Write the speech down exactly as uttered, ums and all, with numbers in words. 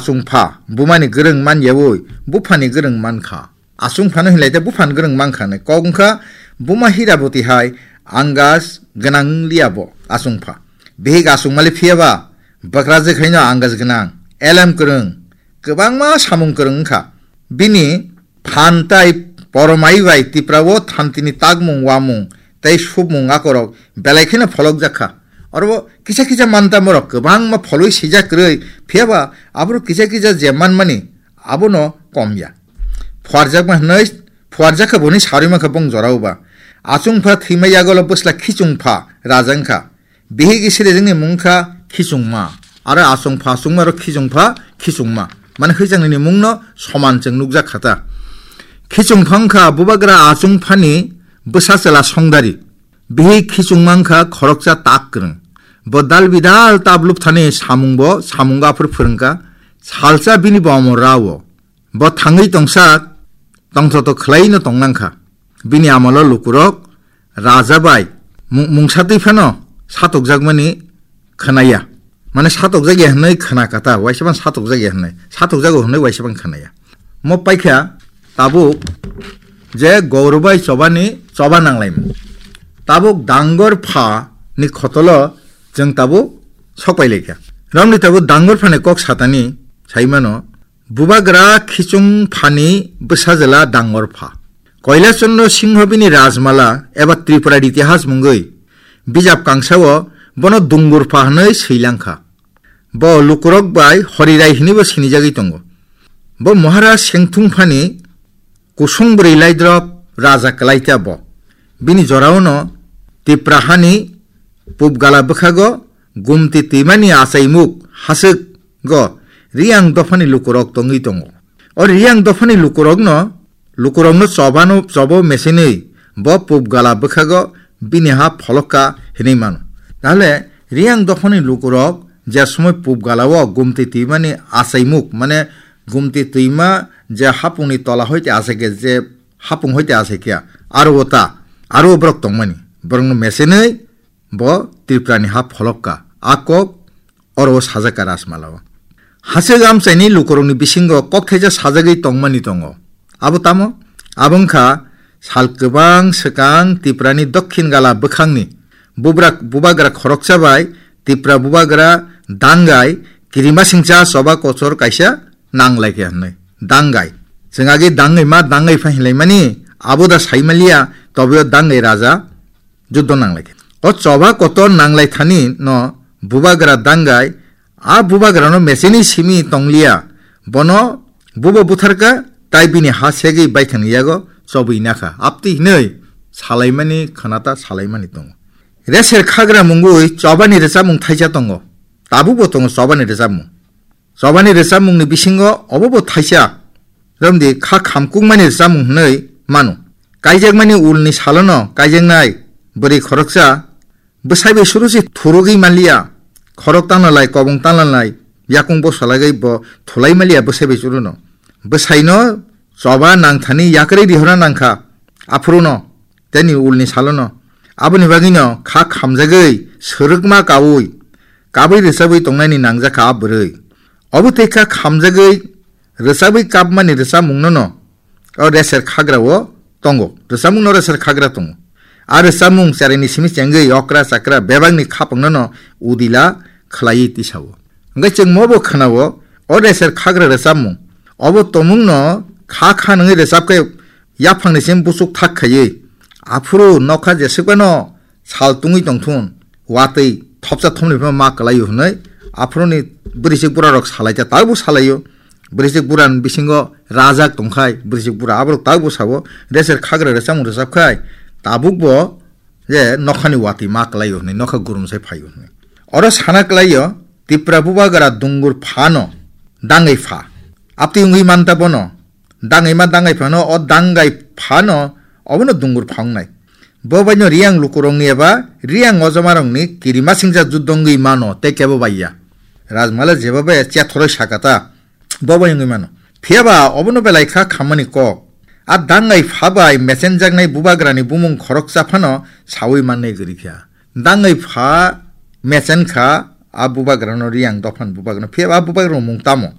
Achungpha bumani gwrwng man yaui buphani gwrwng man kha. Achungphano hinlai tei buphani gwrwng man kha hinwi kok wng kha. Buma Hiraboti hai angas gwnang wng liya bo achungpha. Bihik achungmali phiya ba bwkrajwk haino angas gwnang, elem kwrwng, kwbangma samung kwrwng wng kha. Bini phan tai poromai bai Tipra o thantini takmung, wamung tei supmung akorok belai kheno pholokjak kha. Oro kisa kisa manta borok kwbangma pholwi sijak kwrwi, phiya ba aborok kisa kisa je manmani abono kom ya. Phuarjakma hwnwi phuarjak kha boni sarwi mankha bong jorao ba. Achungpha thwima yagolo bwsla Khichungpha raja wngkha. Bihik Isirejwngni mung kha Khichungma. Aro achungpha achungma aro Khichungpha Khichungma. Mane hwichangni mungno soman chwng nukjak kha ta. Khichungpha wngkha bubagra achungphani bwsa chwla songdari. Bihik Khichungma wngkha khoroksa tak kwrwng. Bo dal bidal tab lupthani samung bo, samung aphur phwrwngkha. Salsa bini bo omo rao. Bo thangwi tongsa tongthoto khwlaino tongnang kha. Bini amolo lukurok raja bai mu-, mungsa twi phano satokjakmani khwnaya. Mane satokjakya hwnwi khwna kata, waisa ban satokjakya hwnwi. Satokjago hwnwi waisa ban khwnaya. Mo paikha tabuk je Gaur bai Choba ni choba nanglaimung. Tabuk Dangor Pha ni khotolo chwng tabuk sokpai laikha. Romni tabuk Dangor Pha ni kok satani saimano Bubagra Khichung Phani bwsajwla Dangor Pha. Koila Chandra Singho bini Rajmala eba Tripura Itihas mungwi bijap kangsao bono Dungur Pha hwnwi swilang kha. Bo lukurok bai Horirai hwnwibo sinijagwi tongo. Bo Maharaj Sengthung Phani kusung bwrwi laidrop raja kwlaita bo. Bini joraono Tipra hani pubgala bwkhago Gumti twimani achaimuk haswk go Riang dophani lukurok tongwi tongo. O Riang dophani lukurokno, lukurokno chobano, chobo mesenwi bo pubgala bwkhago bini ha pholokka hinwi mano. Tahle Riang dophani lukurok je somoi pubgalao Gumti twimani achaimuk, mane Gumti twima je hapungni tola hoite achaikhe, je hapung hoite achaikhe, aro o ta, aro o borok tongmani. Borokno mesenwi bo Tripurani ha pholokka. A kok oro o sajak kha Rajmala o. Haswk amchaini lukurokni bisingo kokthaisa sajagwi tongmani tongo. Abo tamo? Abo wngkha sal kwbang swkang Tripurani dokhin gala bwkhangni bubrak-, bubagra khoroksa bai Tripura bubagra Dangai kirimasingcha choba kochor kaisa nanglaikha hwnwi. Dangai. Chwng age Dangai ma, Dangai pha hinlaimani, abo da saimaliya, tobeo Dangai raja juddo nanglaikha. O choba kotor nanglaithani no bubagra Dangai, a bubagrano mecheni simi tongliya, bono bubo butharkha, tai bini ha segwi baithang yago chobwi nakha. Aptwi hinwi salaimani khwnata salaimani tongo. Reser khagra mungwi chobani rwchapmung thaisa tongo. Tabukbo tongo chobani rwchapmung. Chobani rwchapmungni bisingo obobo thaisa, romdi kha khamkukmani rwchapmung hwnwi mano. Kaijakmani ulni salono kaijaknai bwrwi khoroksa bwsai bai surusi thurugwi manliya, khorok tanlalai, kobong tanlalai, yakung bosalagwi bo thulai manliya bwsai bai suruno. Bwsaino choba nangthani yakrwi rihorna nangkha, aphuruno. Teni ulni salono. Aboni bagwino kha khamjagwi, swrwkma kaui, kabui rwchabwi tongnaini nangjakha a bwrwi. Obo tei kha khamjagwi, rwchabwi kapmani rwchapmungnono o reser khagrao tongo. Rwchapmungno reser khagra tongo. A rwchapmung cheraini simi chengwi okra chakra bebakni khapangnono udila khwlaiwi tisao. Hwnkhe chwng mobo khwnao o reser khagra rwchapmung. Obo tomungno kha kha nungwi rwchapkhe yaphangni simi buchuk thak khaiwi, aphuru nokha jeswkano sal tungwi tongthun, watwi thopsa thopni phano ma kwlaio hwnwi aphuruni bwrwisik burarok salaikha, tabukbo salaio. Bwrwisik burani bisingo rajak tongkhai, bwrwisik bura aborok tabukbo sao, reser khagra rwchapmung rwchapkhai, tabukbo je nokhani watwi ma kwlaio hwnwi, nokha gurum sai phaio hwnwi. Oro sana kwlaio, Tipra bubagra Dungur phano Dangai pha. Aptwi wngwi manta bono, Dangai ma Dangai phano, o Dangai phano obono Dungur pha wngnai. Bo baino Riang lukurokni eba Riang ojomarokni kirimasingcha juddo wngwi mano tei kebo bai ya. Rajmala jeba bai chethoroi sakata, bo bai wngwi mano. Phiyaba obono belai kha khammani kok. A Dangai pha bai mechenjaknai bubagrani bumung khoroksa phano saui mannai kwrwi kha. Dangai pha mechen kha a bubagrano, Riang dophani bubagrano. Phiyaba a bubagrano mung tamo?